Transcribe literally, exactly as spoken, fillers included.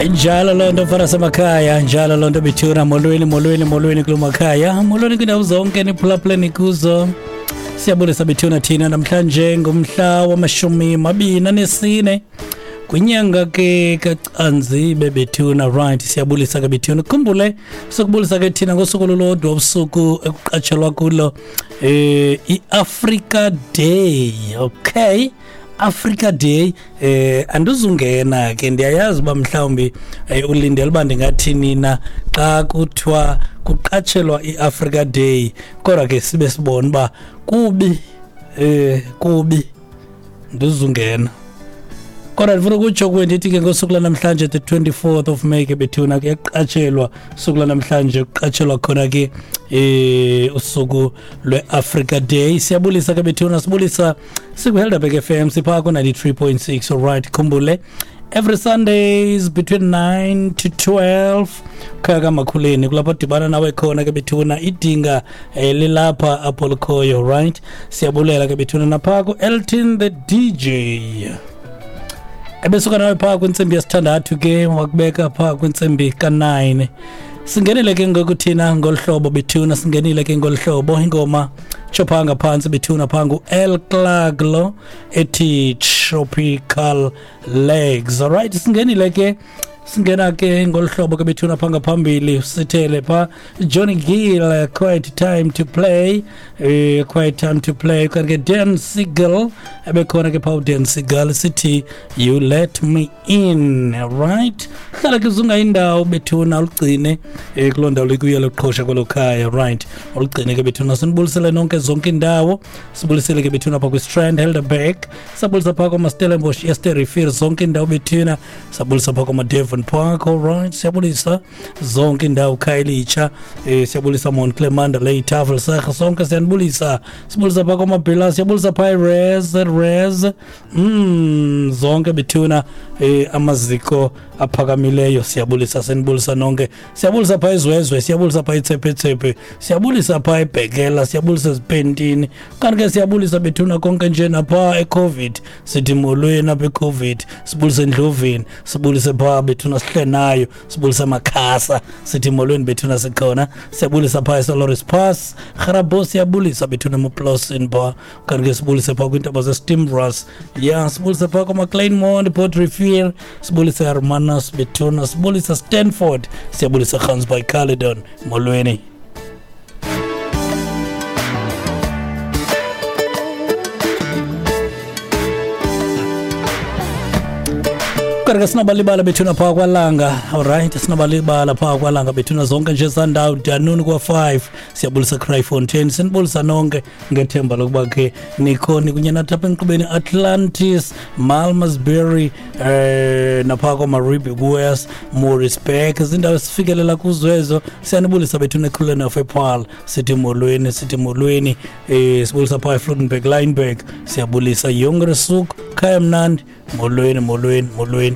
Njalo loo nto mfana semakhaya, njalo loo nto bethuna. Molweni, molweni, molweni kulo makhaya, molweni kwiindawo zonke niphulaphuleni kuzo. Siyabulisa bethuna thina namhlanje ngumhla wamashumi mabini anesine kwinyanga ke kaCanzibe bethuna. Right, siyabulisa ke bethuna. Khumbule sokubulisa ke thina ngosuku olulodwa usuku ekuqatshelwa kulo eh iAfrica Day. Okay, Africa Day. Eh andizungena ke, ndiyayazi uba mhlawumbi eh, ulindele uba ndingathini na xa kuthiwa kuqatshelwa iAfrica Day, kodwa ke sibe sibona uba kubi eh kubi ndizungena. Kodwa ndifuna ukutsho kuwe ndithi ke ngosuku lanamhlanje the twenty-fourth of May ke bethuna kuyaqatshelwa usuku lanamhlanje, kuqatshelwa khona ke eh usuku lweAfrica Day. Siyabulisa ke bethuna, sibulisa sikwi-Helderberg F M sipha ku ninety-three point six. All right, khumbule every Sundays between nine to twelve khaya kaMakhuleni kulapho dibana nawe khona ke bethuna, idinga eh, lilapha apho likhoyo. Right, siyabulela ke bethuna napha ku Elton the D J ebesuka nawe phaa kwintsimbi yesithandathu ke wakubeka phaa kwintsimbi ka-nine. Singenile ke ngoku thina ngolu hlobo bethuna, singenile ke ngolu hlobo ingoma tsho phaa ngaphantsi bethuna phaa ngu-El Clark lo ethi Tropical Legs. Alright, singenile ke, singena ke ngolu hlobo ke bethuna phaa ngaphambili sithele phaa Johnny Gill, Quiet Time to Play, eh, Quiet Time to Play. Kanti ke Dan Siegel ebekhona ke phaa, Dan Siegel sithi You Let Me In. Right, hlala ke uzunga indawo bethuna, ulugcine eh, kuloo ndawo likuyo loqhosha kwelo khaya. Right, ulugcine ke bethuna. Sinibulisele nonke zonke indawo, sibulisele ke bethuna phaa kwiStrand Helderberg, sabulisa phaa kwamaStellenbosch, Eerste zonke indawo bethuna, sabulisa phaa kwamaDevon Park. All right, siyabulisa zonke indawo Khayelitsha, eh siyabulisa Mount Mandalay, Tafelsig, sonke siyanibulisa. Sibulisa phaa kwaMabhila, siyabulisa phaa Res Res mm zonke bethuna eh amaziko aphakamileyo siyabulisa, senibulisa nonke. Siyabulisa phaa Izwezwe, siyabulisa phaa Itsepetsephe, siyabulisa phaa eBhekela, siyabulisa eZipentini, kanti ke siyabulisa bethuna konke nje napha eCovid, sithi molweni apha eCovid, sibulise eNdlovini, sibulise phaa bethuna sihle nayo, sibulise Makhasa, sithi molweni bethuna sikhona. Siyabulisa phaa eSoloris Pass, Grabos, siyabulisa bethuna eMoplosin phaa, kanti ke sibulise phaa kwiintaba zeSteamras, ya sibulise phaa kwaMacleanmont, Port Rivier, sibulise Hermanus bethuna, sibulisa Stanford, siyabulisa Gansbaai Caledon, molweni. Kodwa ke sinobalibala bethuna phaa kwaLanga. Alright, sinobalibala phaa kwaLanga bethuna zonke nje zandawo Danuni kwa-five, siyabulisa Kraaifontein, sinibulisa nonke ngethemba lokuba ke nikhona kunye nathi apha enkqubeni Atlantis, Malmesbury, eh naphaa kwaMaribi West, Morrisburg, zindawo esifikelela kuzo ezo. Siyanibulisa bethuna ekhuleni nasePaarl, sithi molweni, sithi molweni. Eh sibulisa phaa eVlottenburg, Lineburg, siyabulisa Jonkershoek, Khaya Mnandi, molweni, molweni, molweni.